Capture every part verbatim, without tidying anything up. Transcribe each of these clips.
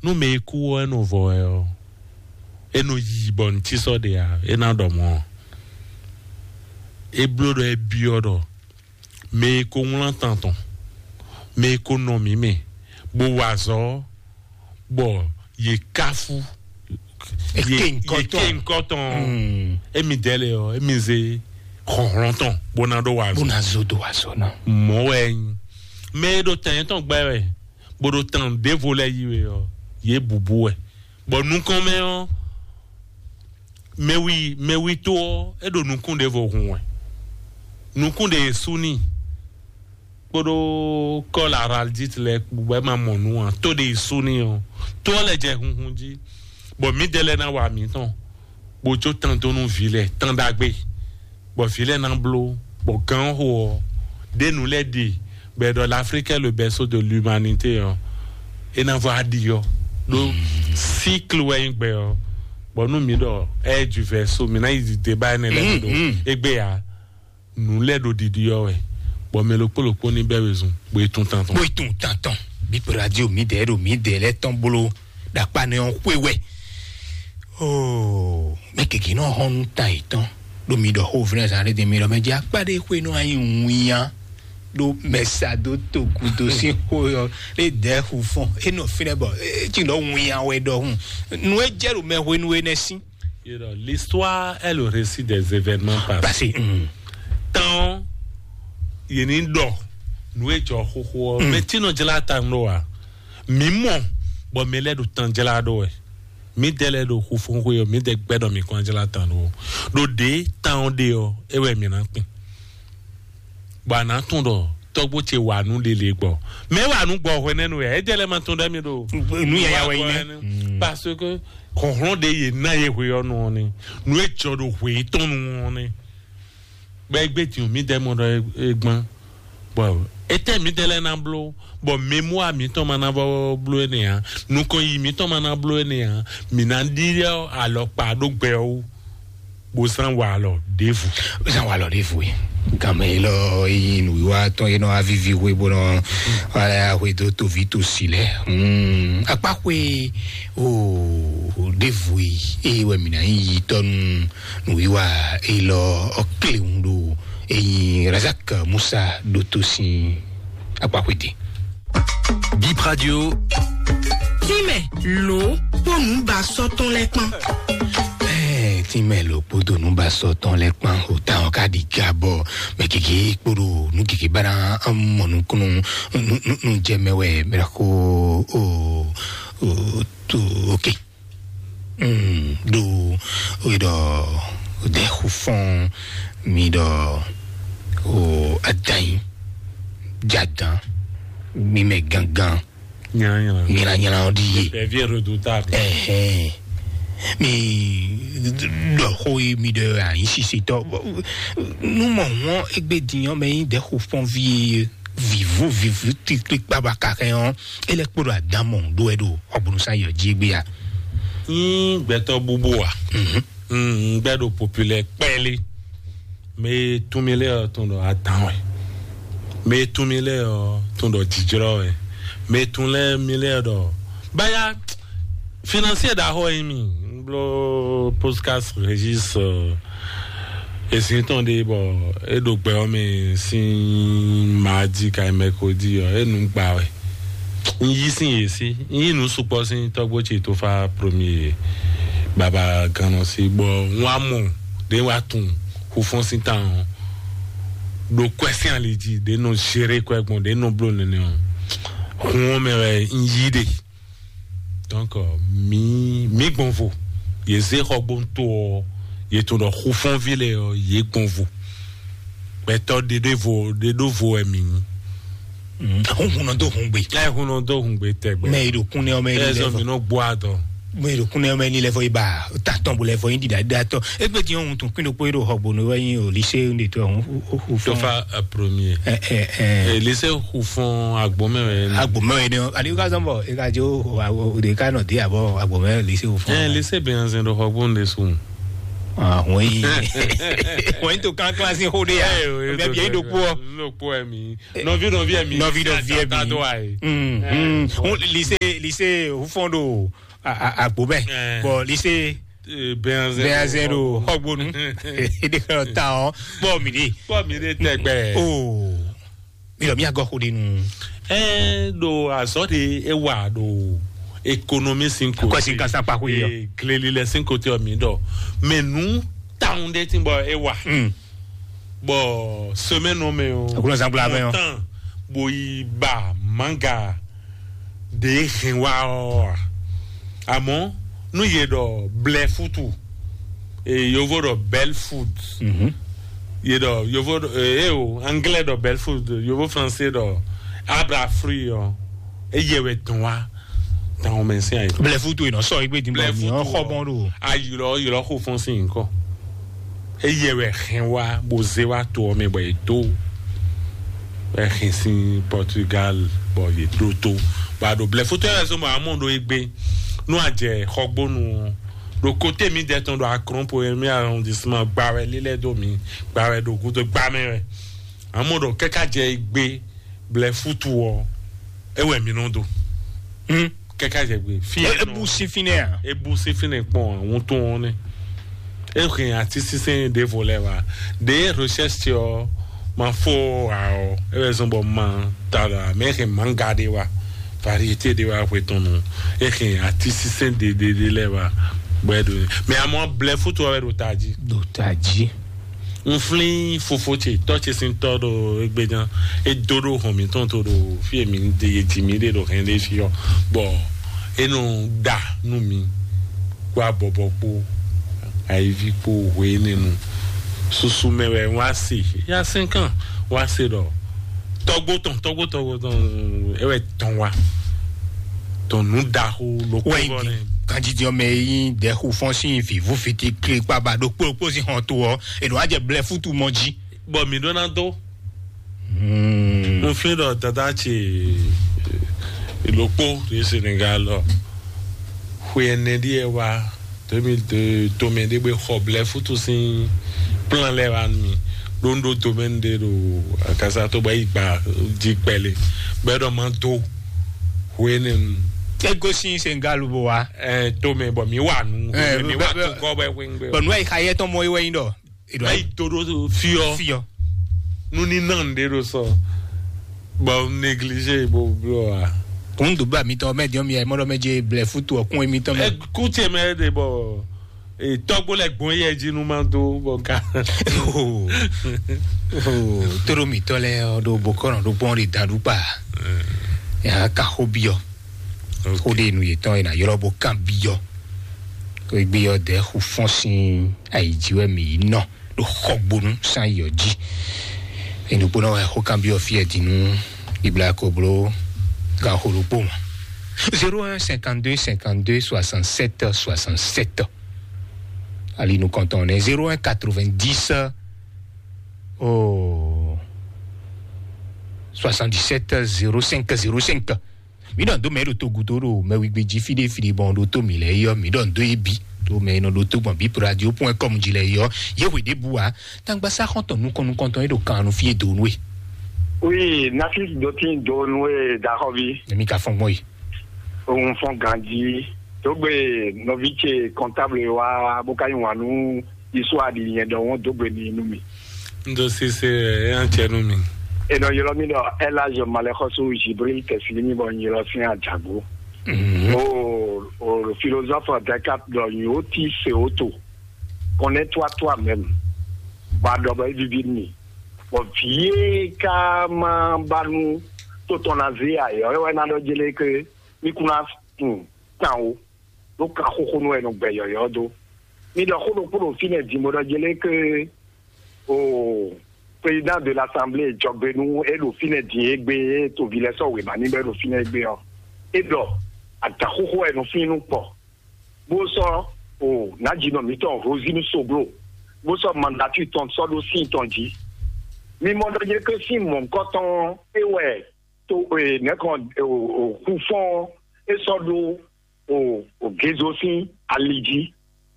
Nú mɛ e kú ɔ́, é nɔ vɔ wɛ ɔ́, é nɔ yi bɔ nǔ cí sɔ́ ɖe ǎ, é ná ɖɔ mɔ̌. É bló ɖɔ é byɔ́ ɖɔ mɛ e ko wlán tan tɔn, mɛ e ko nɔ mǐ mɛ, bó wa azɔ̌, bɔ yě káfú, yě ké ŋkɔ tɔn, émi dɛ́ lɛ́ɛ ɔ́, émi zé xɔ̌nhlɔ́n tɔn bó ná ɖó wa azɔ̌. Bó ná zó dó wa azɔ̌ ná. Mɔ̌ wɛ é nyí. Mɛ e ɖo tɛn yětɔn gbɛ wɛ, bó ɖo tan ɖěvo lɛ́ɛ yí we ɔ́, yě bǔbú wɛ. Bɔ nukɔn mɛ ɔ́, mɛwi mɛwi tó ɔ́, é ɖo nukún ɖěvo hun wɛ. Nukún ɖě sú n'i kpódó kɔ́ la araldit lɛ́ɛ kpó bɔ é ma mɔ nǔ ǎ. Tó ɖě sú n'i ɔ́, tó ɔ́ lɛ jɛ hunhun jí, bɔ mǐdɛɛ lɛ́ɛ ná wa mǐtɔn, bó jó tan dó nú vǐ lɛ́ɛ, tan ɖagbe, bɔ vǐ lɛ́ɛ ná bló, bɔ gǎn xo ɔ́, ɖé nǔ lɛ́ɛ ɖe, bɔ è ɖɔ l'Afrique est le berceau de l'humanité ɔ́, é ná vɔ aɖi ɔ́, ɖó cycle wɛ nyí gbɛ ɔ́, bɔ nú mǐ ɖɔ ɛ ju vɛ̌so, mǐ ná yi débat énɛ́ lɛ́ɛ ɖo égbé ǎ. Nǔ lɛ́ɛ ɖo ɖiɖi ɔ́ wɛ, bɔ mɛ ɖokpó ɖokpó ní bɛ́ wezun, bó yi tún tantɔn. Bó yi tún tantɔn. Bí pé radio mǐdɛɛ ɖo mǐdɛɛ lɛ́ɛ tɔn bló ɖo akpa nɛ ɔ́ xwé wɛ. Oo, mɛ gěgé nɔ hɔn nú ta yětɔn ɖo mi ɖɔ xó vlɛ́ zan ɖé mi ɖɔ mɛ jɛ akpa ɖé xwé nɔ anyi winyan ɖo mɛsa dó togudo sín xó yɔ ɖé dɛ̌ xu fɔn é nɔ fínɛ́ bɔ é cí ɖɔ winyan wɛ ɖɔhun. Nu e jɛ ɖo mɛ hwenu énɛ́ sín. You know, l'histoire est le récit des événements passés. Passé. Tan ɔ́, yě ní ɖɔ nǔ e jɔ xóxó ɔ́, mɛ tí nɔ jlá ta nɔ wa. Mǐ mɔ bɔ mɛ lɛ́ɛ ɖo tan jlá ɖó wɛ. Mǐdɛɛ lɛ́ɛ ɖo xu fún xwe ɔ́, mǐdɛɛ gbɛ́ ɖɔ mǐ kɔn jlá tan ɖó. Ɖo ɖě tan ɔ́ ɖe ɔ́, é wɛ mǐ ná kpin. Bɔ a nǎ tunwun ɖɔ tɔ́gbó ce wa nǔ lele gbɔ. Mɛ wa nǔ gbɔ hwɛnɛnu wɛ, é jɛ lɛ ma tunwun ɖɔ mi ɖo nǔ yaya wɛ nyí nɛ́. Parce que xɔhlɔn ɖe yě ná ye hwe ɔ́ nɔ ɔ́ nɛ́. Nǔ e jɔ ɖo hwe tɔn nu ɔ́ nɛ́. Bɔ é gbé din mǐdɛɛ mɔ ɖɔ é gbɔn. Bɔ étɛ́ mǐdɛɛ lɛ́ɛ ná bló, bɔ mémoire mǐtɔn ma ná vɔ bló énɛ́ ǎ, nukɔn yi mǐtɔn ma ná bló énɛ́ ǎ, mǐ ná ɖiɖɔ alɔkpa ɖó gbɛ ɔ́ wú, bó zán wa alɔ ɖěvo. Zán wa alɔ ɖěvo é. Gǎnmɛ élɔ́ é nyí nǔwiwa tɔn é nɔ wá víví hwe bó nɔ wá lɛ́ hwe dó toví tosi lɛ́ɛ. Hmm, akpáxwe o ɖěvo é, é wɛ mǐ ná nyí yitɔ́ nú nǔwiwa élɔ́ ɔ́ kléwún ɖo é nyí Razak Musa ɖótó sín akpáxwédí. Bip Radio. Tínmɛ lǒ kpó nǔbasɔ́ tɔn lɛ́ɛ kpán. Ɛɛ, tínmɛ lǒ kpódó nǔbasɔ́ tɔn lɛ́ɛ kpán. O ta ɔ́ ká ɖi ga bɔ mɛ gěgé kpódó nǔ gěgé bá ná mɔ nukúnnú nú jɛ mɛ wɛ mɛ xó o o tó. Ok. Mm, ɖo ɖɔ ɖe xufɔn mi ɖɔ o adanyi jadan mi mɛ gangan nyanyana ɔdi ye. Bɛvi redoutable. Ɛhɛn. Mi ɖɔ xó yi mi ɖɔ anyi sisitɔ numɔ wɔn egbe diyan mɛ yi ɖe xufɔn vi vivu vivu tikpikpa ba kakɛ ɔn ele kpo ɖo adan mɔ ɖo ɛ ɖo ɔbunu sa yɔ dzi egbe ya. Yín gbɛtɔ bubu wa. Mhm. Mm, gbɛ ɖo populaire kpɛli. Mɛ tún mi lɛ tún ɖɔ adan wɛ. Mɛ tún mi lɛ tún ɖɔ jijrɔ wɛ. Mɛ tún lɛ mi lɛ ɖɔ baya financier ɖaxɔ yi mi. N blo podcast Régis esi tɔn ɖe bɔ e ɖo gbɛ ɔ́ mɛ sín mardi ka mercredi ɔ e nu gba wɛ. N yí sín yě sí, n yí nu sukpɔ sín tɔgbo ce tó fa premier baba gannɔ sí bɔ n wa mɔ ɖe wa tun xufɔn sín tan ɖo kwɛ sín ali jí ɖe nɔ géré kwɛ gbɔn ɖe nɔ blo nene ɔ hun ɔ́ mɛ wɛ n yí ɖe. Donc mi mi gbɔn vo yě zé xɔgbóntó ɔ yě tún ɖɔ xufɔnví lɛ ɔ yě gbɔn vo gbɛtɔ ɖeɖe vo ɖeɖo vo wɛ mi nyi. Hun hun nɔ dó hun gbe. Ɛ hun nɔ dó hun gbe tɛgbɛ. Mɛ yi ɖo kún nɛ ɔmɛ yi lɛ zɔn mi nɔ gbɔ adɔ. Mɛ yi ɖo kún nɛ ɔmɛ yi lɛ fɔ yi ba tatɔn bo lɛ fɔ yi ɖiɖa ɖiɖa tɔ. Egbe tiɲɛ hun tun kún ɖokpó yi ɖo xɔgbónu wɛ yi o lycée un de to hun hu hu fɔ. Tofa premier. Ɛ ɛ ɛ. Ɛ lycée hu fɔn agbɔmɛ wɛ. Agbɔmɛ wɛ ni o ali ka zɔn bɔ e ka jo o de ka nɔ de abɔ agbɔmɛ lycée hu fɔn. Ɛ lycée bɛ yan zɛn ɖo xɔgbónu de sun. Ahun yi. Wọ́n yín tó kánkán sí xó dé ya. Ẹ o, yín tó bia yín ɖokpó ɔ. Ɖokpó ɛ mi. Nɔvi nɔvi ɛ mi. Nɔvi nɔvi ɛ mi. Tá tó wa yi. Mm, mm. Wọn lise lise hufɔn ɖo agbo bɛ. Bɔn lise bɛnzɛn ɖo xɔgbonu. Ede kɔ ta ɔ. Bɔn mi de. Bɔn mi de tɛgbɛ. Oo. Mi lɔ mi agɔ xo ɖe nu. Ɛ ɖo azɔ de e wa ɖo ekonomi sin ko. Kɔ sin kasa kpa ko yi ɔ. Gleli lɛ sin ko te ɔ mi ɖɔ. Mɛ nu taun de ti bɔ e wa. Mm. Bɔ semaine o mɛ o. Akunɔ zan gbla mɛ o. Tan bo yi ba manga de hɛn wa ɔ. Àmọ́ nú yě ɖɔ blɛ fútu, e yovo ɖɔ bɛl food. Mhm. Yě ɖɔ yovo ɖɔ, e o anglais ɖɔ bɛl food, yovo français ɖɔ abra fruit ɔ, eye wɛ dɔn wa tan o mɛ sin ayi. Blɛ fútu yìí nɔ sɔ igbe dín bɔ mi ɔ xɔ bɔn ɖo. Ayilɔ yilɔ xo fɔn sin nkɔ. Eye wɛ hɛn wa bo zé wa to ɔ mɛ bɔ yě dó. Wɛ hɛn sin Portugal bɔ yě dó tó. Bɔ a ɖo blɛ fútu ɛ zɔn bɔ a mɔ ɖo egbe. Nú a jɛ xɔgbónu ɔ, ɖo kote mi dɛ tɔn ɖo akrɔn po mi arrondissement gba wɛ lílɛ dó mi, gba wɛ ɖo gúdo gba mɛ wɛ. Amɔ ɖɔ kɛka jɛ egbe blɛ fútu ɔ, e wɛ mi nɔ do. Hmm. Kɛka jɛ gbe fi E- ebu si fínɛ a? Ebu si fínɛ kpɔn àwọn tó wọn nɛ. E hɛn ati sísɛn ɖe vo lɛ wa. Ɖe recherche ɔ ma fo a ɔ, e wɛ zɔn bɔ ma ta la mɛ hɛn manga ɖe wa, variété ɖe wa hwe tɔn nu. E hɛn ati sísɛn ɖe ɖe ɖe lɛ wa. Bɔ e ɖo mɛ amɔ blɛ fútu ɔ wɛ ɖo ta jí. Ɖo ta jí. N flín fofo ce tɔ́ ce sín tɔ́ ɖo égbé gán. É dó ɖó hɔn mǐtɔn tó ɖo fí e mǐ ɖe e ji mǐ ɖe ɖo hɛn ɖé fí ɔ́, bɔ é nɔ ɖa nú mi kpó abɔbɔ kpó ayiví kpó hwe énɛ́ nu. Susu mɛ wɛ wá se yá sɛ́nkán wá se ɖɔ tɔ́gbó tɔn tɔ́gbó tɔ́gbó tɔn é wɛ tɔn wá tɔn nǔ ɖaxó lókpó Wɛ gɔ́ nɛ. Ganjidɔ mɛ yi ɖɛ xu fɔn sín vǐvú fiti klikpa ba ɖokpó ɖokpó sín hɔn to ɔ, ènò wá jɛ blɛ fútu mɔ jí. Bɔ mǐ ɖó ná dó. Hmm. Mo flín ɖɔ dada ce lókpó ɖe Senegal ɔ. Xwe ɛnɛ ɖíe wá deux mille deux tomɛ ɖé gbé xɔ blɛ fútu sín plan lɛ wá nú mi. Ɖó ń ɖó tomɛ ɖé ɖo akasa tó bɔ yi gba jí kpɛlɛ. Bɛ ɖɔ ma dó. Xwe ɛnɛ nu. Ego sín Senegal bó wa. Ɛ tomɛ bɔ mi wà nù. Ɛ, mi wà bɛ- tó kɔ bɛ wíńgbé. Bɔn nua yi xa yɛ tɔn mɔ yi wɛ yin dɔ. Eɖo ayi to ɖo fiɔ. Fiɔ. Nu ní nɔ ŋɖe ɖo sɔ. Bɔ négligé bo blɔ a. Kún dùbà mi tɔn mɛ diɔ mi ɛ mɔdɔ mɛ je blɛ fútu ɔkún mi tɔn mɛ. Ɛ kútsɛ mɛ de bɔ tɔgbó lɛ gbɔn yɛ jí nu ma dó bɔ ká. Toro mi tɔ lɛ ɔ ɖo bokɔnɔ ɖo gbɔn ɖe daɖu kpa. Ya ka xó biɔ. Xó ɖe nu yetɔn yina yɔlɔ bo kan biɔ. Ko egbe yɔ dɛ xu fɔn sin ayi ji wɛ mi yi nɔ. Ɖo xɔgbonu san yi ɔ ji. Enukpɔnɔ wɛ xó kan biɔ fi ɛ dinu. Ibla ko blo gan xó ɖokpó mɔ. Zéro un cinquante-deux cinquante-deux soixante-sept soixante-sept. Ali nu kɔntɔn nɛ zéro un quatre-vingt-dix oh soixante-dix-sept zéro cinq zéro cinq. Mi ɖɔ do mɛ ɖo togudo ɖo mɛ wigbe jí fi ɖe fi ɖe bɔn ɖo to mi lɛ yɔ mi ɖɔ do ye bi. Do mɛ nɔ ɖo to gbɔn bi radio point com jí lɛ yɔ ye hwe ɖe bu wa. Tangbasa xɔntɔn nukɔn nukɔntɔn ye ɖo kan nu fi ye do nu e. Oui, Nafis dotin do nu e daxɔvi. Emi ka fɔn gbɔn yi. Òun fɔn ganji. Tó gbé nɔvi ce comptable wa bó ka yín wà nú isu aɖi yẹn ɖɔ wọn dó gbe mi nú mi. N ɖo sise ɛ an cɛ nú mi. Enɔ ylɔ mi ɖɔ Elage Malexɔso Jibril Tɛsilimi bɔ n ylɔ sin Ajagbo. O o philosophe Descartes ɖɔ nyo ti se o to. Connais-toi toi-même. Ba ɖɔ bɔ evivi mi. Bɔ vie ka ma ba nu to tɔn na ze ayɔ ewɛ na ɖɔ jele ke mi kuna kun tan o. Ɖo kan xoxo nú wɛ nɔ gbɛ yɔyɔ dó. Mi ɖɔ xó ɖokpó ɖo fínɛ́ din bó ɖɔ jélé ke o président de l'assemblée jɔgbe nú é ɖo fínɛ́ din égbé é toví lɛ́ɛ sɔ́ wěma ní bɔ é ɖo fínɛ́ égbé ɔ́. É ɖɔ adǎn xóxó wɛ nɔ fín nú kpɔ. Bó sɔ́ o nǎjínɔ mǐtɔn Rosine Soglo bó sɔ́ mandatú tɔn sɔ́ ɖó sín tɔn jí. Mi mɔ ɖɔ jélé ke sín mɔ̌hunkɔtɔn é wɛ to e nɛkɔ o o kú fɔn é sɔ́ ɖó o o gezo sín ali jí.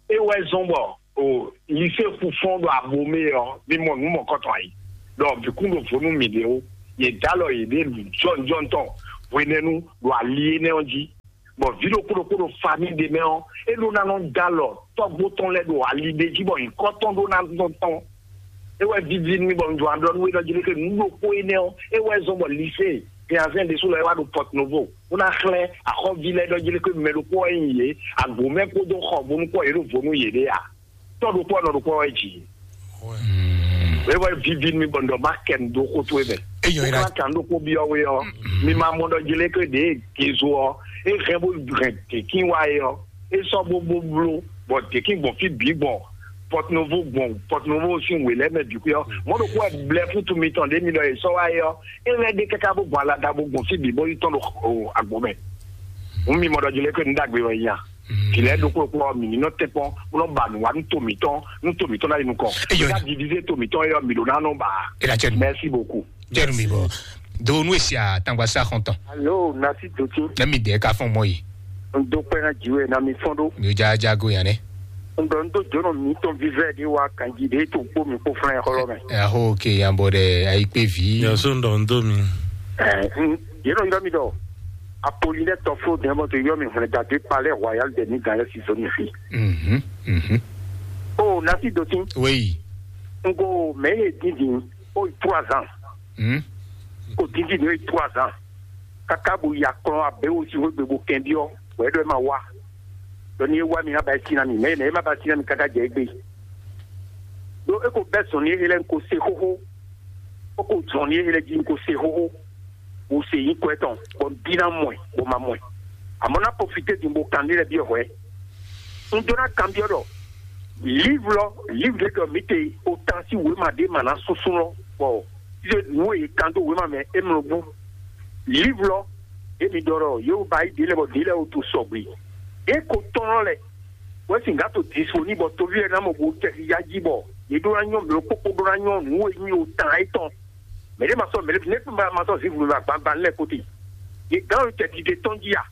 É wɛ zɔn bɔ O lycée Fufɔn ɖo Abomé ɔ́, mi mɔ nǔ mɔkɔtɔn ayi. Ɖɔ bǐkún ɖo vo nú mǐɖée ó. Yě dó alɔ yěɖée jɔnjɔn tɔn hwenɛ́nu ɖo ali énɛ́ ɔ́ jí. Bɔ vǐ ɖokpó ɖokpó ɖo famille ɖé mɛ ɔ́, é ɖó ná nɔ dó alɔ tɔ́gbó tɔn lɛ́ɛ ɖo ali ɖé jí bɔ nyǐkɔ tɔn ɖó ná nɔ tɔn. É wɛ víví nú mì bɔ un jló ná ɖɔ nú we ɖɔ jí leke nǔ ɖokpó énɛ́ ɔ́, é wɛ zɔ́n bɔ lycée Piazen ɖésú lɔ é wá ɖo Porto Novo, bó ná xlɛ́ axɔ́ví lɛ́ɛ ɖɔ jí leke mɛ ɖokpó wɛ nyí yě, agǒmɛ kpódó xɔ bónú kpɔ́ yě ɖo vo nú yěɖée a. Tɔ́ ɖokpó ɔ́ nɔ ɖokpó wɛ jǐ. É wɛ víví nú mì bɔ un ɖɔ má kɛ nǔ dó xó towe mɛ. Eyɔ é Wokla kan ɖokpó byɔ́ we ɔ́, mi ma mɔ ɖɔ jí leke ɖě gezo ɔ́, é hɛn bó hɛn děkín wá é ɔ́, é sɔ́ bó bó bló, bɔ děkín gbɔn fí bǐ gbɔn Porto Novo gbɔn Porto Novo sín wě lɛ́ɛ mɛ bǐ xwé ɔ́, mɔ̌ ɖokpó wɛ blɛ́ fútu mitɔn ɖě mi ɖɔ è sɔ́ wá é ɔ́, é lɛ́ ɖe káká bó gbɔn alada bó gbɔn fí bǐ bó yi tɔ́n ɖo agbo mɛ. Hǔn mi mɔ ɖɔ jí lɛ́ kɔ́ nǔ ɖagbe wɛ nya. Vǐ lɛ́ɛ ɖokpó ɖokpó ɔ́, mǐ ní nɔ tɛ́nkpɔ́n bó nɔ ba nǔ wá nú to mǐtɔn, nú to mǐtɔn ná yi nukɔn. Eyɔ. Ká divize to mǐtɔn é ɔ́, mǐ ɖó ná nɔ ba. Ela cɛ nu. Merci beaucoup. Cɛ nu mi bɔ. Do nu esi a tangba sa xɔntɔn. Alo, nasi dotin. Ne mi dɛ ka fɔn mɔ yi. N do kpɛ na jiwe na mi fɔn do. Mi ja ja go yan ne. N dɔ n do jono mi tɔn vivɛ de wa kanji de to kpo mi kpo flan xɔlɔ mɛ. Aho ke yan bɔ dɛ ayi kpe vi. Yaso n dɔ n do mi. Ɛ n yɛrɛ yɔ mi dɔ. Apolinɛ tɔfo dɛmɔ to yɔ mi hwlɛ dade palɛ royal de ni gan yɛ si zoni fi. Mhm. Mhm. O nasi dotin. Oui. N ko mɛ ye dindin o trois ans. Mhm. Ko dindin o trois ans. Kaka bo ya kplɔn abe wo si hwegbe bo kɛn biɔ wɛ ɖɔ e ma wa. Ɖɔ ni e wa mi na ba e si na mi mɛ mɛ e ma ba si na mi kaka jɛ egbe. Ɖo e ko bɛ zɔn ni e lɛ n ko se xoxo. O ko zɔn ni e lɛ ji n ko se xoxo. Bo se yi kɔ etɔn bɔ n bi na mɔ ɛ bɔ ma mɔ ɛ. Amɔ na profite din bo kan ni lɛ biɔ hwɛ. N do na kan biɔ ɖɔ livre lɔ livre de dɔ mi te o tan si wema de ma na susu lɔ bɔ se nu e kan do wema mɛ e mlɔ bu. Livre lɔ e mi dɔ ɖɔ yewu ba yi de lɛ bɔ de lɛ o to sɔgbe. E ko tɔn lɔ lɛ wɛ si n ka to disponible bɔ tovi lɛ na mɔ bo tɛ ya ji bɔ ye ɖo na nyɔ mlɔ kpokpo ɖo na nyɔ nu e nyi o tan etɔn. Mɛ ɖé ma sɔ́ mɛ ɖé ne ma ma sɔ́ zivu mɛ agbagba lɛ kote. Ye gán yɔ tɛ dide tɔn jí a?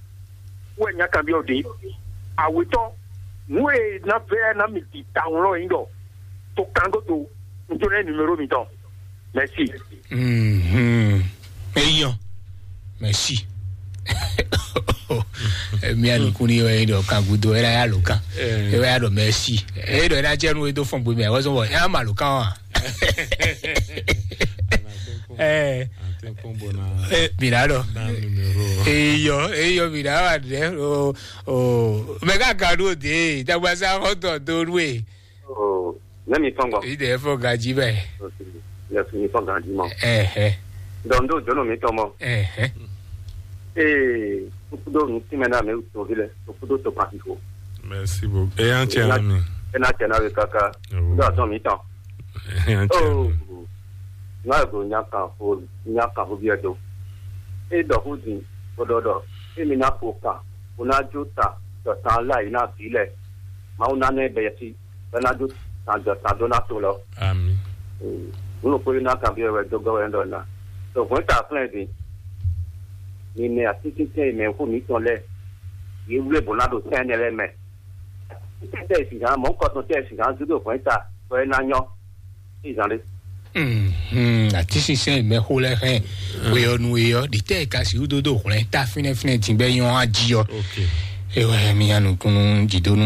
Wɛ nya kan biɔ de. Awetɔ nu e na vɛ na mi di ta wlɔ yin dɔ to kan godo n to ne numéro mi tɔn. Merci. Mhm. Eyɔ. Merci. Emi anukun ni yɔ yin dɔ kan gudo era ya lo kan. Eh. Era ya dɔ merci. E dɔ era jẹ nu e do fɔn gbe mi a wɔ sɔn bɔ ya ma lo kan wa. Eh. Ante kombo na Eh, mi na dɔ. Na numéro. Eyɔ, eyɔ mi na wa dɛ. O o. Mɛ ka ka do de. Dagba sa ko tɔ do nu e. Oh, ne mi tɔn gbɔ. Yi de fɔ gaji bɛ. Yes, mi tɔn gaji mɔ. Ɛhɛ. Donc do jono mi tɔn mɔ. Ɛhɛ. Ee, kudo nu ti mɛ na mi to vi lɛ, kudo to pa fifo. Merci beaucoup. E yan cɛ na mi. E na cɛ na we kaka. Oh. Do atɔn mi tɔn. E yan cɛ. Oh. Na go nya kan fo, nya kan fo biɛ do. E dɔ hu din, o dɔ dɔ. E mi na fo kan, o na jo ta, dɔ tan la yi na vi lɛ. Ma o na ne bɛ si. Bɛ́ ná dó tando tando ná to lɔ. Ami. Nú ɖokpó ná kanbyɔ́ wɛ dó gɔ́ wɛ ɖɔ ná. Ɖo hwɛ̌n ta flɛ́n din. Mi mɛ atínsínsɛ́n e mɛ xó mǐtɔn lɛ́ɛ, yě wlé bǒ ná ɖo sɛ́n énɛ́ lɛ́ɛ mɛ. Tɛ́ e sǐgán mɔ̌ kɔtɔn tɛ́ e sǐgán dó ɖo hwɛ̌n ta bɔ é ná nyɔ́. Ìzán ɖé. Mhm. Atínsínsɛ́n e mɛ xó lɛ́ɛ hɛn. Weyɔnu e ɔ́ ɖi tɛ́ e ka sixú dó dó hwlɛ́n ta fínɛ́fínɛ́ din bɛ́ nyɔ́ á jí ɔ́. Ok. Ewɛ mi nya nukúnnú jidonu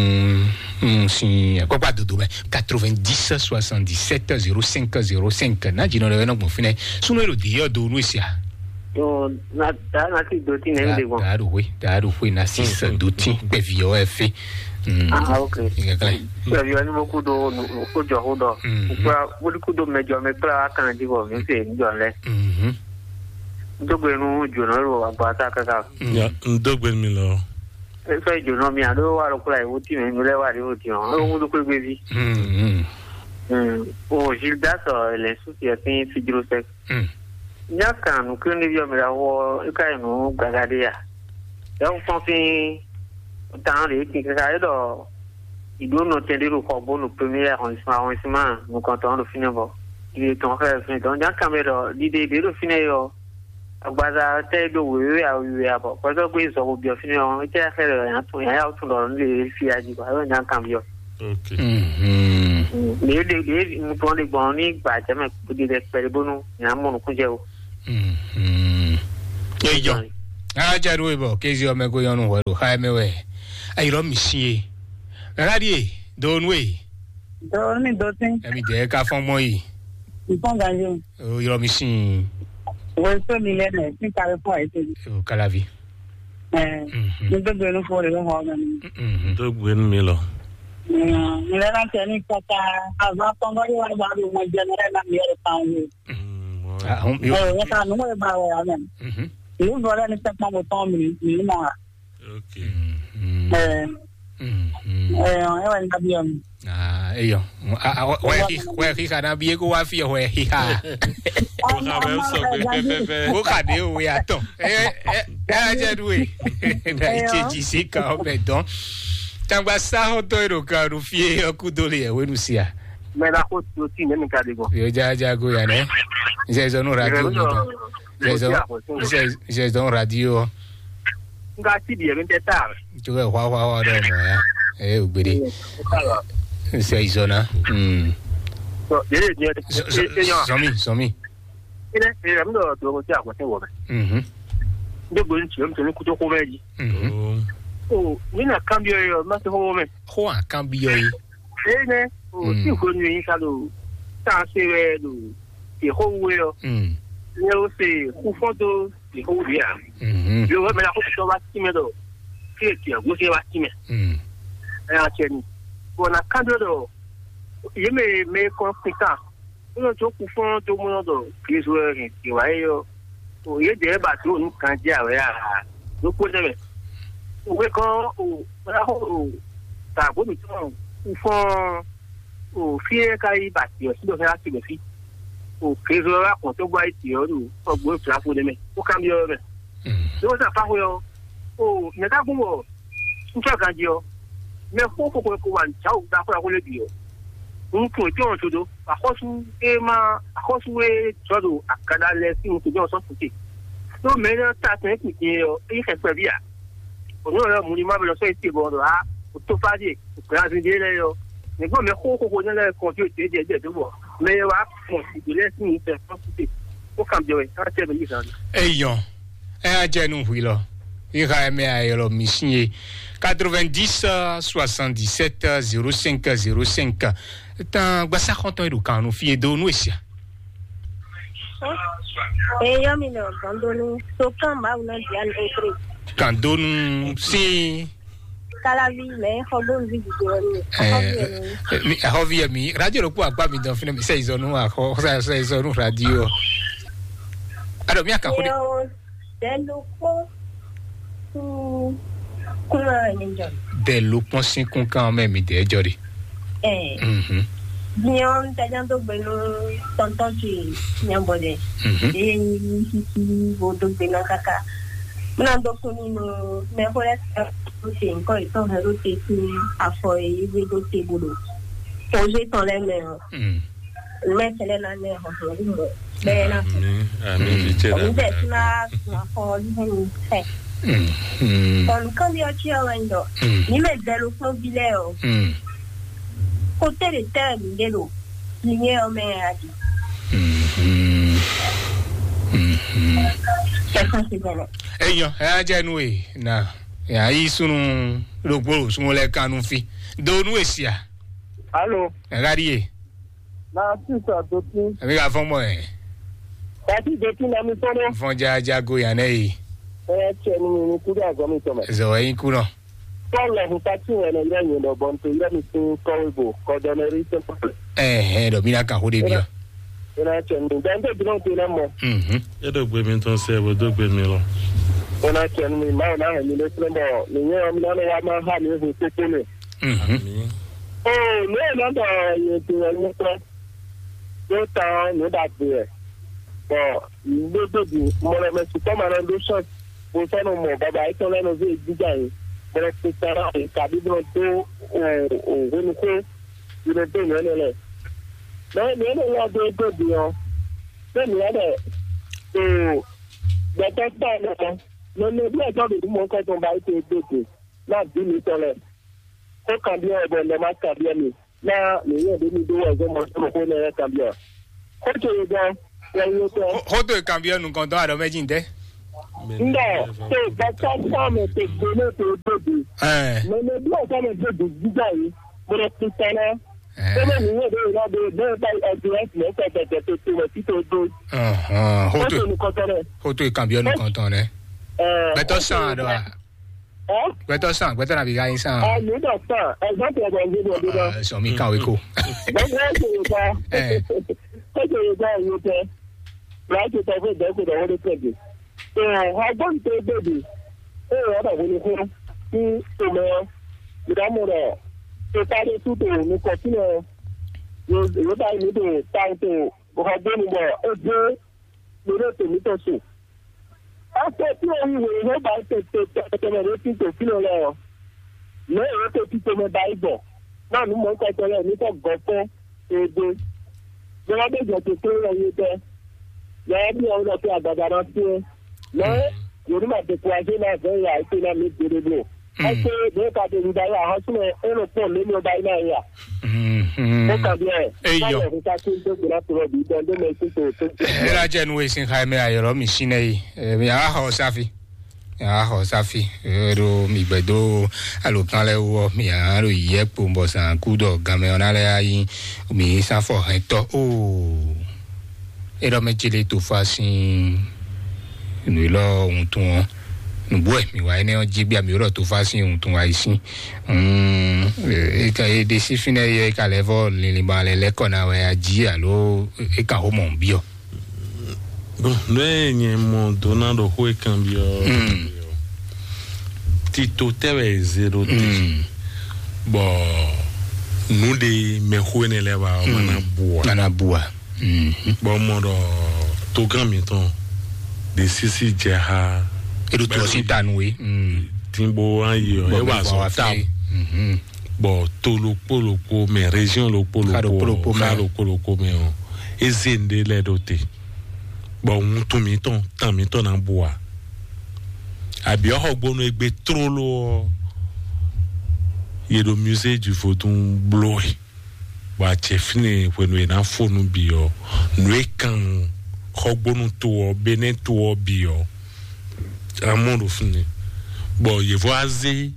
nu sin akpɔkpa dodo mɛ quatre-vingt-dix soixante-dix-sept zéro cinq zéro cinq. Na jino ɖe wɛ nɔ gbɔn fínɛ sunu ero de yɔ do nu sia. Yo, na da na ti do ti nɛ mi de gbɔn. Da do hwe, da do hwe na six do ti kpɛvi yɔ wɛ fe. Ah, ok. Kpɛvi yɔ ni mo ku do ko jɔ ko dɔ. Kpɛvi yɔ ni mo ku do mɛ jɔ mɛ kpla kan di bɔ mi se jɔ lɛ. Dogbe nu jona lo agba ta kaka. Ya, n dogbe mi lɔ. Sɔ yi jona mi a ɖo wa ɖo kula yi wuti mɛ mi lɛ wa ɖi wuti ɔ. Alo ŋu ɖo kpe gbe vi. O Gildas ɔ lɛ susi ɛ fin fidro sɛ. Nya kan nu kiri ni bi ɔ mi la wɔ e ka yi nu gaga de ya. Ya ŋu fɔn fin tan de e kin kaka e dɔ. Ìɖó nɔtɛn ɖé ɖo xɔ gbó ɖo premier arrondissement, arrondissement nukɔntɔn ɖo fínɛ́ bɔ ɖiɖe tɔn xlɛ́ fínɛ́ tɔn. Nya kan mɛ ɖɔ ɖiɖe ɖě ɖo fínɛ́ yɔ agbaza tɛ ɖo wěwé awiwe abɔ kpɛtɔ gbé zɔ bo biɔ fínɛ́ ɔ́, étɛ xlɛ́ ɖɔ yǎ tún yǎ yá tún ɖɔ nú ɖe fí ají kɔ, alo nya kan biɔ. Ok. Mhm. Ɖě ɖě ɖě nukplɔ́n ɖe gbɔn ní gbǎjɛmɛ kpódé ɖɛ kpɛɖé bónú nyà mɔ nukúnjɛ o. Mhm. Eyɔ. Aja ɖo ebɔ kézi ɔmɛ ko yɔnu hwɛ ɖo xa mɛ wɛ. Ayirɔ mi si e. Mɛ ka ɖi e? Do nu e. Do nu mi do tín. Ɛmi dɛ ka fɔn gbɔn yi. Ìfɔn ganji. O yɔrɔ mi si. Wɛsɛ mi lɛ nɛ, sí kàwé fún àyè tẹ̀lé. O kalavi. Ẹ Mhm. Ní gbégbé inú fún rẹ̀ lọ́wọ́ ọmọ mi. Mhm. Tó gbé nú mi lọ. Ìlera tẹ̀ ní kọ́kọ́, àwọn akọ́ngọ́dé wà bá mi mọ jẹ lọ́rẹ́ náà mi yẹrẹ kan wò. Mm, mo- Ah, ahun mi Ẹ o. Wọ́n ká nínú ẹ̀ bá wọ̀ ọ́ mọ̀. Mhm. Ìlú bọ̀rẹ́ ní sẹ́pọ̀ mo tán mi mi mọ̀ wá. Ok. Mhm. Ẹ Mhm. Ẹ ẹ wà ní dábìá mi. Ah, eyɔ. Ah, ah, wɛ hi wɛ hi kana bi eko wa fi wɛ hi ha. Mo ka bɛ sɔ gbe pɛpɛpɛ. Ko ka de o ya tɔn. Eh eh eh jɛ du e. Na iche ji si ka o bɛ dɔn. Tangba sa ho to ero ka nu fie yo ku do le e we nu sia. Mɛ la ko to ti ne mi ka de ko. Yo ja ja go ya ne. Nse zo nu radio mi tɔn. Nse zo nse zo radio. Nga ti bi mi tɛ ta. Tu ke hwa hwa hwa dɔ mo ya. Eh ugbede. Nse izona. Mm. So, yele ni. Zomi zomi. Ine e mi do do ko ti a ko ti wo me. Mhm. Ndo go ni ti mi to ni ku to ko me di. Mhm. Oh. O mi na cambio yo ma to ko me. Ho a cambio yi. Ene o Mm. Ti ko ni ka do ta se we do. Ti ko we yo. Mm. Ne o se ku fo do ti ko we ya. Mhm. Yo me na ko to ba ti me do. Ti ti go se ba ti me. Mm. E a che ni. Ko na cambio do. Ye me me ko fika. Nɔ tso kufɔn tó mɔ dɔ Kristu wɛ hɛn tiwa yɛ yɔ. O ye dɛ ba do nu kan jɛ awɛ a? Do kpo nɛ mɛ. O we kɔn o o ta bo mi tɔn kufɔn o fi yɛ ka yi ba tiɔ si dɔ fɛ asi dɔ fi. O Kristu wɛ wa kɔn tó gba yi tiɔ nu kɔ gbo fila fo nɛ mɛ. O kan bi yɔ mɛ. Ní wọ́n sá fáwọn yọ. O nɛ̀ká gún bọ̀ ńtọ́ ganjí ɔ, mɛ xó xóxó ko wà ní jáwó gbá xó xó lé bǐ ɔ. Ń kun ètò ọ̀hún todo, àkọ́sú é má àkọ́sú é jɔ ɖo àkàndá lɛ sí nukún jẹ́ ọ̀sán kùtè. Tó mɛ ní ta tẹ̀ kùtè ɔ, é yí xɛfɛ bí a. Òní ọ̀rẹ́ mu ni má bẹ lọ sọ ètè bọ̀ ọ̀dọ̀ á, kò tó fá dé, kò pẹ́ azin dé lẹ́yìn ɔ. Nígbà mɛ xó xóxó ní lẹ́yìn kan tí ó tẹ̀ jẹ́ jẹ́ tó bọ̀, mɛ yẹ wá kàn ìgbélé sí ní fẹ́ fọ́n kùtè. Ó kàn bẹ̀rẹ̀ ká tẹ̀ mí yìí sáré. Eyɔn, ɛ ajɛ nu hui lɔ. Iha ɛmɛ ayɛlɔ mi sin ye. Quatre-vingt-dix, soixante-dix-sept, zéro cinq, zéro cinq. Tan gbasa xɔntɔn eɖo kan nu fi e do nu esia. Eyɔn mi nɔ gandonu so kan mawu na dian otre. Gandonu sin. Kalavi mɛ xɔ bolu vi didi wɛ mi. Ɛ, mi ahɔvi yɛ mi radio ɖo kpó akpa mi dɔn fínɛ mi sɛ izɔnu akɔ sɛ izɔnu radio. Alo mi aka xo de. Dɛlukpɔ kún kún ɛ ní jɔ. Dɛlukpɔ sín kún kan mɛ mi dɛ jɔ de. Ɛ Mhm. Biɔn tɛjá tó gbé nú tɔntɔn tsi nyabɔ dɛ. Mhm. Eye nyi sisi wo dó gbé ná kaka. Muna dó kún nínú mɛ xó lɛ tɛ tó te nkɔ yìí tɔn hɛ ló te kún afɔ yìí wé dó te bó ɖo. Kɔnzé tɔn lɛ mɛ ɔ. Mm. Mɛ tɛlɛ na nɛ hɔhɔn wú mɔ. Bɛɛ na fún. Ami ami vijɛ la. Òun tẹ̀ sí máa gun afɔ yìí hẹ́n ní fẹ́. Mm. Kɔnu kan bí ọtí ọ̀rọ̀ ń dọ̀. Mm. Ní mɛ bẹ́ẹ̀ ló fún bí lẹ́ o. Mm. Kó tẹ̀lé tẹ́ ẹ̀ nílé lo. Ní yẹ ọmọ ẹ̀ àdì. Mm. Mm. Ẹ kàn sí bẹ̀rẹ̀. Eyɔ, ɛ ajɛ nu e na. Ya yi sunu ɖokpó sunu lɛ kan nu fi. Do nu esia. Alo. Ɛ ka ɖi ye. Na sisa dotin. Ɛ mi ka fɔn mɔ ɛ. Kasi dotin na mi fɔn dɛ. Fɔn ja ja go yan nɛ yi. Ɛ cɛ ni mi ni kudu azɔ mi tɔmɛ. Zɔ ɛ yi ku nɔ. Paul la huta ti wɛ na yira nyɛ dɔ bɔn to yira mi sin kɔwe bo kɔdɔnɛri sɛ pɔpɛ. Ɛ hɛ dɔ mi na kan ho de bi ɔ. Ina cɛ ni dan de bi na te na mɔ. Mhm. E do gbe mi tɔn sɛ bo do gbe mi lɔ. Ina cɛ ni ma na hɛ mi le sɛ bɔ ni nyɛ mi na ne wa ma ha mi hu koko ne. Mhm. Oo, nǔ e nɔ ɖɔ yě dó wɛ nyí kpɔ́n, ɖó tán nǔ ɖagbe wɛ. Bɔ ɖó dó bǐ mɔɖɔmɛ sukpɔ́ ma nɔ ɖó sɔ́ bó sɔ́ nɔ mɔ baba yětɔn lɛ́ɛ nɔ zé jínjɔ́n ayǐ, bɔ nɔ kpekpan ná ayǐ, kabí bó nɔ dó hwenuxó yi nɔ dó nǔ énɛ́ lɛ́ɛ. Mɛ nǔ énɛ́ lɛ́ɛ dó dó bǐ ɔ́, ɖó nǔ lɛ́ɛ ɖɔ gbɛtɔ́ kpá ɛ nɔ, mɛ nɔ bí ɛtɔ́ ɖo nǔ mɔ̌kɔ tɔn ba yí te dó dě ná bǐ mǐtɔn lɛ́ɛ. Xó kanbyɔ́ wɛ bɔ un ɖɔ má kanbyɔ́ mi. Ná mǐ nyɛ ɖě mi ɖó wɛ zɔ́n mɔ sɔ́ xó nɛ́ kanbyɔ́. Xó ce e gɔ́n, wɛ nyí tɔ́. Xó tó e kanbyɔ́ nukɔntɔn aɖɔ mɛ jí ntɛ́? Ndɔ tó gbɛtɔ́ sɔ́mɛ tó gbóná tó dódò. Ɛɛ. Mɛ mɛ bí ọ̀sán mɛ dódò gbígbá yìí, mo lọ kú tán ná. Ɛɛ. Ó bɛ nìyẹn bẹ́ẹ̀ lọ bẹ́ẹ̀ bẹ́ẹ̀ bá ẹ̀dùn ẹ̀sìn ẹ̀sẹ̀ tẹ̀tẹ̀ tó tó wẹ̀ títò dó. Ahàn, Ó hoto, tó nukɔntɔn rẹ̀. Hoto ìkànbí ọ̀nù kan tán rẹ̀. Ɛɛ, Gbẹtọ́ ó tó sàn àdó nukɔntɔn. À. Ẹ́? Gbẹtọ́ sàn, gbẹtọ́ nàbí gáyé sàn. Ẹ ní dọ̀ sàn, ẹ gbọ́n tẹ̀ bọ̀ ní bọ̀ ní bọ̀. Ẹ sọ mi kàwé kó. Gbọ́n tẹ̀ yóò tẹ̀. Ẹ. Ó tẹ̀ yóò tẹ̀ yóò tẹ̀. Bùrọ̀ á ti tẹ̀ fún ìgbẹ́ kó dọ̀ wọ́n dé pẹ̀lú. Ẹ wá gbọ́n tẹ̀ bèbè. Ẹ wá dọ̀ wọ́n ní fún. Ní tòmẹ́ ọ́. Ìdámọ̀ rẹ̀. Tó sáré sú tó ní kọ̀tínà. Yóò bá yín ní tó táwọn tó. Bùkọ̀ gbé mi bọ̀. Ó dé. Lórí ètò mi tó sùn. Afɔ tí o yi wòye ló ba tètè tẹ̀tẹ̀tẹ̀ ló ti tò fínà lɛ ɔ. Lé èyí tó ti tòmɛ ba yi bɔ. Náà ní mɔ ń kọtọ lẹ ní kọ gọ fún ebe. Bí wọn bẹ jẹ tó tó lọ yé tẹ. Yàrá bí wọn lọ fi àgbàdo náà fi ẹ. Lọ yóò ní ma découragé náà fẹ́ yà ètò náà mi gbére bò. Ẹ ṣe bẹ́ẹ̀ ká tẹ̀lé darí àwọn súnmọ́ ẹ lọ pọ̀ lónìí ọba yìí náà yà. Ó kà bí ẹ. Eyọ. Báyọ̀ fún ká tó ń tó gbéra tó lọ bí dán tó mẹ sí tó tó. Ela jẹ nu esi xa mɛ ayɔrɔ mi si nɛ yi. Mi a xɔ safi. Mi a xɔ safi. Ero mi gbɛ do alokan lɛ wɔ mi a ro yɛ kpo bɔ san ku dɔ gamɛ ɔna lɛ ayi mi sanfɔ hɛntɔ o. Erɔ mɛ jele to fa sin. Nu lɔ wuntun ɔ. Nubɔ mi wa ene ɔ jigbe mi lɔ to fa sin wuntun wa yi sin. Mm, e ka e de si finɛ ye ka lɛ vɔ linlin ba lɛ lɛ kɔ na wɛ aji alo e ka ho mɔ biɔ. Bon, ne nye mɔ dona ɖo xó e kan biɔ. Mm. Tito tɛ wɛ e ze ɖo te. Mm. Bɔ nu ɖe mɛxó ene lɛ wa wana bua. Wana bua. Mm. Bɔ mɔ ɖɔ togán mitɔn de sisi jɛ ha. Eɖo to si ta nu we. Mm. Tin bo an yi ɔ e wa zɔ ta. Mhm. Bɔ to lokpo lokpo mɛ, région lokpo lokpo mɛ, xa lokpo lokpo mɛ ɔ, e ze nɖe lɛ ɖo te. Bɔ wuntun mitɔn tan mitɔn na bua. Abi ɔxɔgbonu egbe tlóló ɔ, ye ɖo musée du vodun bló e. Bɔ acɛ fínɛ hwenu e ná fó nú bǐ ɔ, nǔ e kan xɔgbónú to ɔ, Benɛ́ to ɔ bǐ ɔ, amɔ ɖo fínɛ. Bɔ yěvɔ azé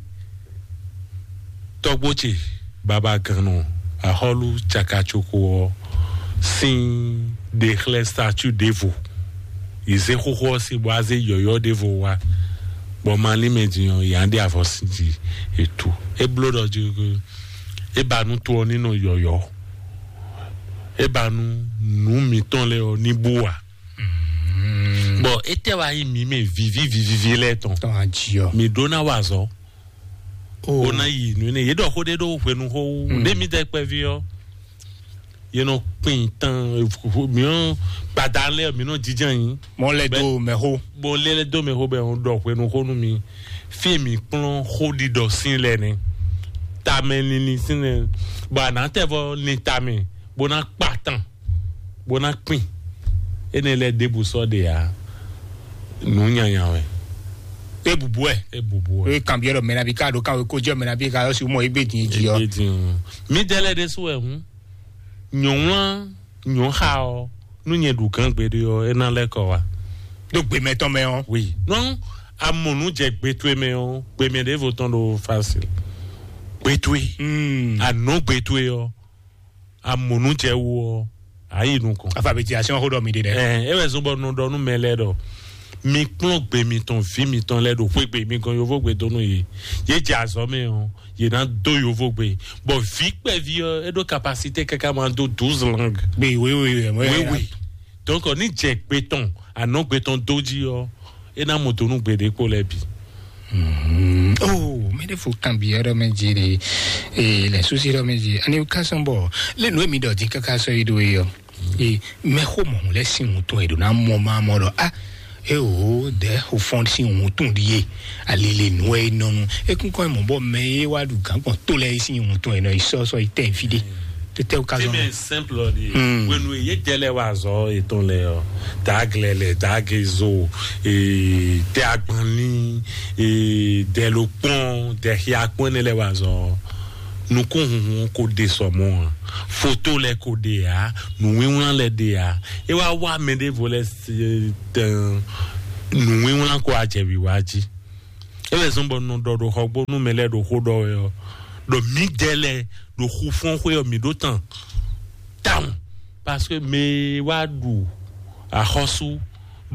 tɔ́gbó ce babagannɔ axɔ́lú cakacoko ɔ sín ɖe xlɛ́ statue ɖěvo. Yě zé xóxó ɔ́ sín bɔ azé yɔ̌yɔ́ ɖěvo wá, bɔ malín mɛ din ɔ́, yě á ɖe avɔ sín jí ètú. É bló ɖɔ jí é ba nú to ɔ́ ní nɔ yɔ̌yɔ́. É ba nú nǔ mǐtɔn lɛ́ɛ ɔ́ ní bú ǎ. Bɔ étɛ́ wá nyí mǐ mɛ viví vivíví lɛ́ɛ tɔn? Tɔn ají ɔ. Mǐ ɖó ná wa azɔ̌. Ó ná yi nǔ énɛ́. Yě ɖɔ xó ɖé ɖó hwenu xó wú. Ɖé mǐ dɛ kpɛví ɔ́, yě nɔ kpin tán. Mǐ nɔ gbada lɛ́ɛ mǐ nɔ jijɛ nyi. Mɔ lɛ dó mɛ xó. Bɔ lɛ lɛ dó mɛ xó bɛ ɖɔ hwenu xó nú mi. Fí e mǐ kplɔ́n xó ɖiɖɔ sín lɛ nɛ. Tamɛ linlin sín lɛ. Bɔ a nǎ tɛ vɔ lin tamɛ bó ná kpa tán, bó ná kpin. Énɛ́ lɛ́ɛ ɖěbǔ sɔ́ ɖe ǎ. Nǔ nyanya wɛ. É bǔbú ɛ. É bǔbú ɛ. É kanbyɔ́ ɖɔ mɛ nabí ká ɖo káwé kó jẹ́ mɛ nabí ká yɔ si mɔ égbé din jí ɔ. Égbé din ɔ. Mí dɛ lɛ ɖésú wɛ hǔn. Nyɔ̌wlán nyɔ̌ xa ɔ, nú nyɛ ɖu gǎn gbeɖé ɔ, é ná lɛ́ kɔ wá. Ɖó gbe mɛtɔn mɛ ɔ. Oui. Non, amɔ̌ nú jɛ gbe towe mɛ ɔ, gbe mɛ ɖěvo tɔn ɖo facile. Gbe towe. Hmm. Anɔ gbe towe ɔ, amɔ̌ nú jɛ wo ɔ, ayi nukɔn. Alphabétisation xó ɖɔ mi ɖe dɛ. Ɛ, é wɛ zɔn bɔ nɔ ɖɔ nú mɛ lɛ́ɛ ɖɔ mi kplɔ́n gbe mitɔn, vǐ mitɔn lɛ́ɛ ɖo xwé gbe mi gɔn yovógbe dó nú yě. Yě jɛ azɔ̌ mɛ ɔ, yě ná dó yovógbe. Bɔ vǐ kpɛví ɔ, é ɖó capacité káká máa dó douze langues. Gbe wéwé wɛ mɔ. Wéwé. Donc ní jɛ gbe tɔn, anɔ gbe tɔn dó jí ɔ, é ná mɔ dó nú gbe ɖé kpó lɛ́ɛ bǐ. Oh, mɛ ɖé fo kan bi ɔrɔ mɛ dzi ɖe. Ee, lɛ susi ɖɔ mɛ dzi. Ani ka sɔn bɔ lé nu emi ɖɔ dzi kaka sɔ yi ɖo yi ɔ. Ee, mɛ xo mɔ lɛ sin wutun e ɖo na mɔ ma mɔ ɖɔ a. Ee o, dɛ o fɔn sin wutun ɖi ye. Ali le nu e nɔnu. Ekunkɔ mɔ bɔ mɛ ye wa ɖu gan gbɔn to lɛ sin wutun e nɔ yi sɔ sɔ yi tɛ fi ɖe. Tete o ka zɔn. Simple ɖi. Wenu ye jɛ lɛ wa zɔ etɔn lɛ ɔ. Daglɛ lɛ, dagezo, ee, tɛ agbanni, ee, dɛ lo kpɔn, dɛ xia kpɔn ne lɛ wa zɔ. Nukúnhunhun ko ɖe sɔmɔ ǎ, foto lɛ ko ɖe ǎ, nǔwínwlán lɛ ɖe ǎ. É wá wá mɛ ɖěvo lɛ se tɛn, nǔwínwlán ko wá jɛ wǐwá jí. É wɛ zɔ́n bɔ un nɔ ɖɔ ɖo xɔgbónú mɛ lɛ́ɛ ɖo xó ɖɔ wɛ ɔ́, ɖɔ mǐdɛɛ lɛ́ɛ ɖo xufɔ́nxwé ɔ́, mǐ ɖó tán tawun, parce que mɛ e wá ɖu axɔ́sú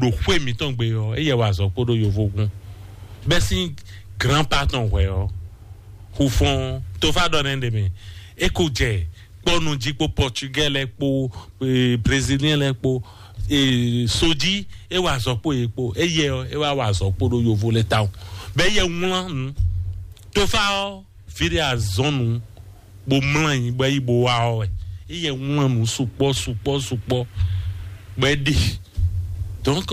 ɖo xwé mǐtɔn gbe ɔ́, éyɛ́ wa azɔ̌ kpódó yovógun. Bɛ́ sín grand pa tɔn hwɛ̌ ɔ́, xufɔ́n tófá ɖɔ nɛ́ ɖe mɛ, é ko jɛ kpɔ́nu jí kpó Portugais lɛ́ɛ kpó, eh, Brésilien lɛ́ɛ kpó, eh, sojí, é wa azɔ̌ kpó yě kpó, éyɛ́ ɔ́, é wá wa azɔ̌ kpódó yovó lɛ́ɛ tawun. Bɛ́ éyɛ́ wlán nǔ. Tófá ɔ́, fíɖé azɔ̌nu bó mlɔ́ anyi bó yi bó wá ɔ́ wɛ. Éyɛ́ wlán nǔ sukpɔ́ sukpɔ́ sukpɔ́ bɔ é ɖi. Donc,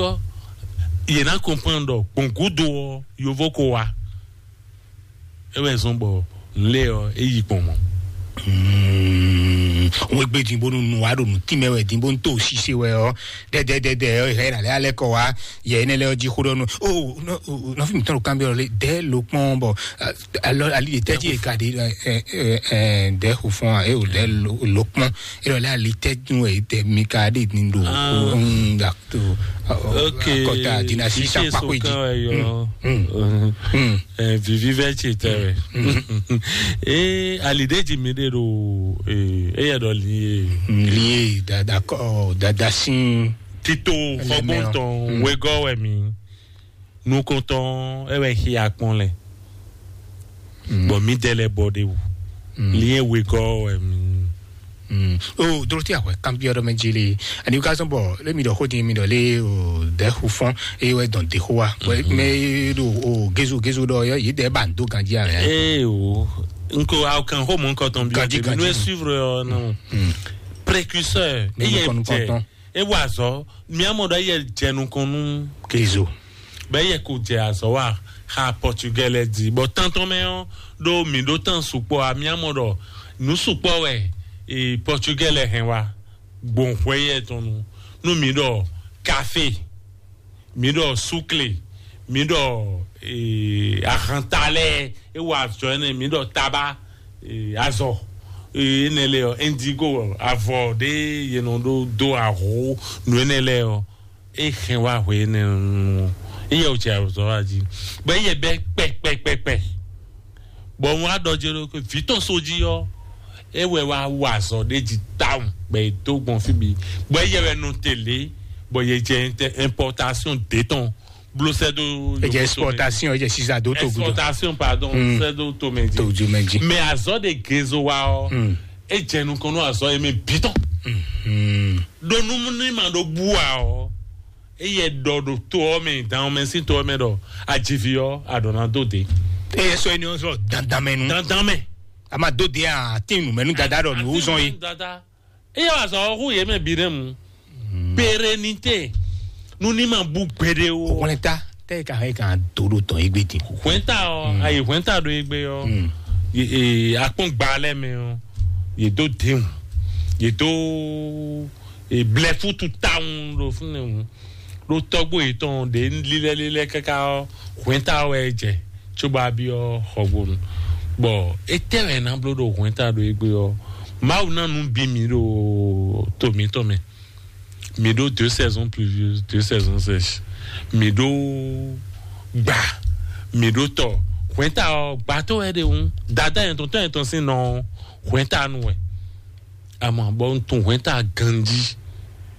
yě ná comprendre ɖɔ gbɔn gúdo ɔ́, yovó ko wá. É wɛ zɔ́n bɔ nǔ lɛ́ɛ ɔ́, é yi gbɔn mɔ̌. Wọ́n gbé dín bónú nu wá ɖo nǔ tínmɛ wɛ dín bónú tó ṣíṣe wɛ ɔ́, dɛdɛdɛdɛ ɔ́, ìhɛ nà lɛ alẹ́ kɔ wá, yɛ énɛ́ lɛ jí xó ɖɔ nú. O, nɔfi mi tɔn ɖo kanbyɔ lé, dɛ lo kpɔn bɔ, alɔ ali de tɛji e ka de, dɛ xufɔn a, e o dɛ lo kpɔn, e lɔ lɛ ali tɛju e dɛ mi ka de ni do. Da to. Ok. Kɔta dina si sa kpakpo yi. Vivi vɛ tsi tɛ wɛ. Ee, ali de ji mi de ɖo, ee, eya ɖɔ li ye. Li ye dada kɔ dada sin. Tito xɔgbɔntɔn wegɔ wɛ mi. Nukɔntɔn e wɛ xi akpɔn lɛ. Bɔn mi dɛ lɛ bɔ de wu. Li ye wegɔ wɛ mi. O doro ti ahwɛ kan bi ɔdɔ mɛ jeli. Ani ka sɔn bɔ le mi dɔ xo di mi dɔ le o dɛ xu fɔn, e wɛ dɔn de xo wa. Mɛ do o gezo gezo dɔ yɔ yi dɛ ba do ganji a. Ee o, nko aw kan xo mɔ nkɔtɔn bi. Ganji ganji nu e suivre yɔ na. Précurseur e yɛ jɛ e wa zɔ mi amɔ dɔ e yɛ jɛ nukɔn nu. Gezo. Bɛ yɛ ko jɛ azɔ wa xa Portugais lɛ di bɔ tantɔn mɛ ɔ ɖo mi ɖo tan sukpɔ a mi amɔ ɖɔ nu sukpɔ wɛ Portugais lɛ hɛn wa gbɔn hwɛ yɛ tɔn nu nu mi ɖɔ kafe, mi ɖɔ sukle, mi ɖɔ ahanta lɛ e wa azɔ ɛnɛ, mi ɖɔ taba, azɔ enɛ lɛ ɔ indigo avɔ ɖe yɛ nɔ ɖo do aho nu enɛ lɛ ɔ e hɛn wá hwe énɛ́ nu. Iye o tsi azɔ wá dzi bɔ iye bɛ kpɛkpɛkpɛkpɛ bɔ wọn adɔ dze ɖo vǐ tɔn so dzi ɔ e wɛ wá wá azɔ ɖe dzi tawun bɛ e dó gbɔn fí bi bɔ iye wɛ nɔ tɛlɛ bɔ ye jɛ importation de tɔn blo sɛ do. Eje exportation, eje sisa do to gudo. Exportation, pardon, sɛ do to mɛ dzi. To ju mɛ dzi. Mais azɔ de gezo wa ɔ e jɛ nukɔn nɔ azɔ ye mɛ bitɔn. Ɖo numuni ma ɖo bua ɔ, eye ɖɔ ɖo to ɔ mɛ, dan ɔ mɛ, sin to ɔ mɛ ɖɔ adzivi ɔ aɖɔna do de. Eye sɔ eni ɔ sɔ dandan mɛ nu. Dandan mɛ. A ma do de a ti nu mɛ nu dada ɖɔ nu zɔn ye. Dada eye wa sɔ hu ye mɛ bi ɖe mu. Pérennité. Nu ni ma bu gbede o. Wɛnta tɛ ka hɛn kan do ɖo tɔn egbe din. Wɛnta ɔ ayi wɛnta ɖo egbe ɔ. Akpɔn gba lɛ mɛ ɔ. Ye do den o. Ye do blɛfutu tawun ɖo fúnɛ o. Ɖo tɔgbo yetɔn ɖe lílɛ́lílɛ́ káká ɔ hwɛ̌nta wɛ jɛ tso bá byɔ́ xɔgbonu. Bɔ étɛ́ wɛ ná bló ɖo hwɛ̌nta ɖo égbé ɔ, Mawu ná nú bí mi ɖo to mǐtɔn mɛ. Mi ɖó deux saisons pluvieuses, deux saisons sèches. Mi ɖó gba, mi ɖó tɔ. Hwɛ̌nta ɔ gbató wɛ ɖe ŋu. Dada yɛn tɔn tɔn yɛn tɔn sín nɔ hwɛ̌nta nu wɛ. Àmọ́ bɔ n tún hwɛ̌nta ganjí.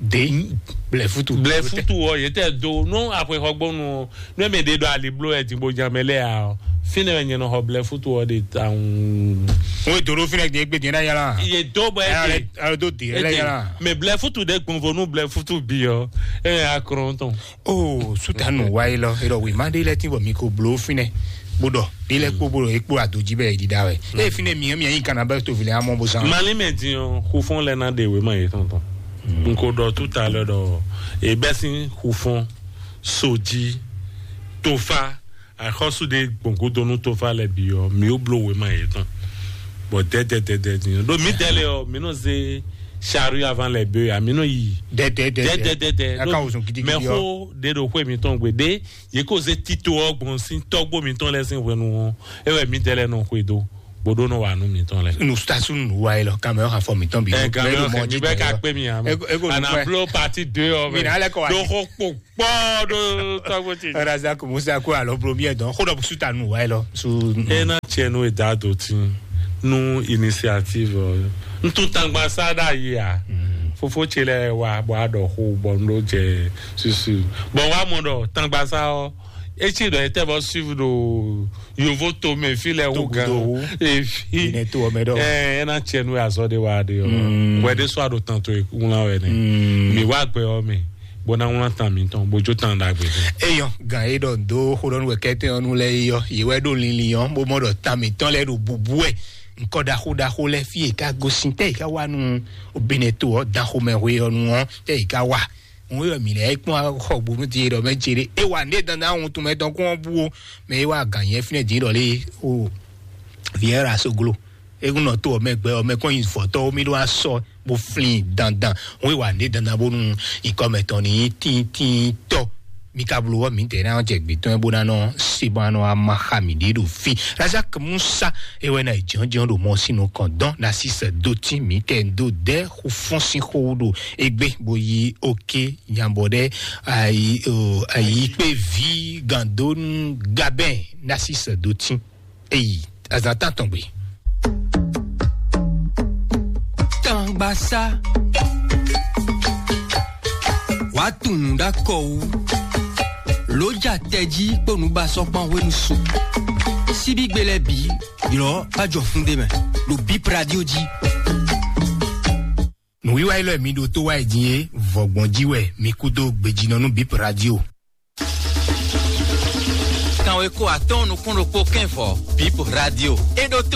De blɛfutu blɛfutu ɔ yɛ tɛ do nú axɔxɔgbɔnu ɔ nú ɛmɛ ɖe ɖo ali blo ɛ dìbò jamɛ lɛ a ɔ fínɛ wɛ nyɛ nɔ xɔ blɛfutu ɔ de tawun. Wọ́n ètò ló fínɛ gbé gbé dín náà yàrá. Iye dó bɔ ẹ de alo tó dé ẹ lẹ́yìn rà. Mɛ blɛfutu de gbɔnvo nú blɛfutu bi ɔ ɛ yà kúrò tɔn. O sutanu wa yi lɔ erɔ wema ɖe lɛ ti bɔ mi ko blo fínɛ bó dɔ ɖe lɛ kpó bó dɔ ekpó adoji bɛ yi ɖiɖa wɛ. Eye fínɛ mi mi yi kana bɛ to vilɛ amɔ bó san. Mali mɛ din ɔ xufɔn lɛ na de wema yi tɔntɔn. N ko dɔ tout à l'heure dɔ ebɛ sin xufɔn soji tofa axɔsu de gbɔngodonu tofa lɛ bi ɔ mi o blo wema yi tɔn. Bɔn dɛdɛdɛdɛ din ɔ ɖo mi dɛlɛ ɔ mi nɔ ze charrue avant les bœufs a mi nɔ yi. Dɛdɛdɛdɛ dɛdɛdɛdɛ aka wosɔn gidigidi ɔ. Mɛ xo de ɖo xwe mi tɔn gbe de ye ko ze tito ɔ gbɔn sin tɔgbo mi tɔn lɛ sin hwenu ɔ e wɛ mi dɛlɛ nɔ xwe do. Bó ɖó nɔ wà nú mǐtɔn lɛ. Nusitasu nù wa yi lɔ, kamɛ ɔ́ hafɔ mǐtɔn bi. Ɛ, kamɛ ɔ́ xɛ mi bɛ ka kpé mi amɛ. Ɛ, ɛ, ko ana nukpɛ. Blo parti deux ɔ́. Mi na lɛ kɔ wa. Dó xɔ kpo kpɔ ɖó tɔgbo ti. Razak Musa ko alɔ blo miɛ dɔn. Xo dɔ su ta nù wa yi lɔ. Su. E na tiɛ nu e da do ti nu initiative ɔ. N tún tangba sa ɖa yi a. Fofo ce lɛ wa bɔ a ɖɔ xo bɔ n ɖo jɛ susu. Bɔn wa mɔ ɖɔ tangba sa ɔ. Etsi ɖɔ etɛ bɔ suivi ɖo yovo to mɛ fi lɛ wo gan. Efi. Ine to ɔmɛ ɖɔ. Ɛ, ena tiɛ nu azɔ de wa de ɔ. Wɛ de sɔ aɖo tan to ŋlá wɛ ne. Mi wa gbɛ ɔ mɛ. Bó ná ŋlá tan mi tɔn bó jó tan ɖagbe. Eyɔ gan e ɖɔ do xo ɖɔ nu wɛ kɛtɛ ɔnu lɛ yɔ yi wɛ ɖo linlin ɔ bó mɔ ɖɔ tan mi tɔn lɛ ɖo bubu wɛ. Nkɔ ɖaxo ɖaxo lɛ fi e ka gosin tɛ yi ka wa nu obinɛ to ɔ dan xomɛ hwe ɔnu ɔ tɛ yi ka wa. Òun yɔ mǐ lɛ́ɛ kpɔ́n xɔ gbonu din ɖɔ mɛ ce ɖé. É wa nɖé dandan ohun tún mɛ tɔn kún ɔ́ bú ó, mɛ é wa gǎn nyɛ fínɛ́ din ɖɔ lé o. Vieira soglo. É kún nɔ tó ɔmɛ gbɛ ɔmɛ kɔn nyi vɔtɔ́ mí ɖó asɔ bó flin dandan. Òun yɔ wa nɖé dandan bónú ikɔ mɛ tɔn ní tíntínntɔ. Mí ka bló wɔ mǐ tɛ ná jɛ gbětɔn bó ná nɔ se bó ná nɔ ama xa mǐ ɖé ɖo fí. Razak Musa é wɛ ná yi jɔnjɔn ɖo mɔ sínú kɔn dɔn ná sísɛ dó tí mǐ kɛ dó dɛ xu fɔ́n sín xó ɖo égbé bó yí oké nyabɔ ɖe ayi o ayi kpé vi gandonu gabɛn nasi sɛ do tí eyi azatan tɔn gbe. Tangbasa wàá tunnu ɖakɔ wú lójà tɛjí kpó nǔbasɔkpan hwenu su síbígbe lɛ bǐ ylɔ́ bá jɔ fún ɖé mɛ ɖo bíp radio jí. Nǔwiwa élɔ́ e mi ɖo tó wá yi din é, vɔ̌gbɔn jí wɛ mi kú dó gbejínɔ nú Bip Radio. Kanwe ko atɔ́ɔ́n nukún ɖokpó kɛ́n vɔ Bip Radio. É ɖó tó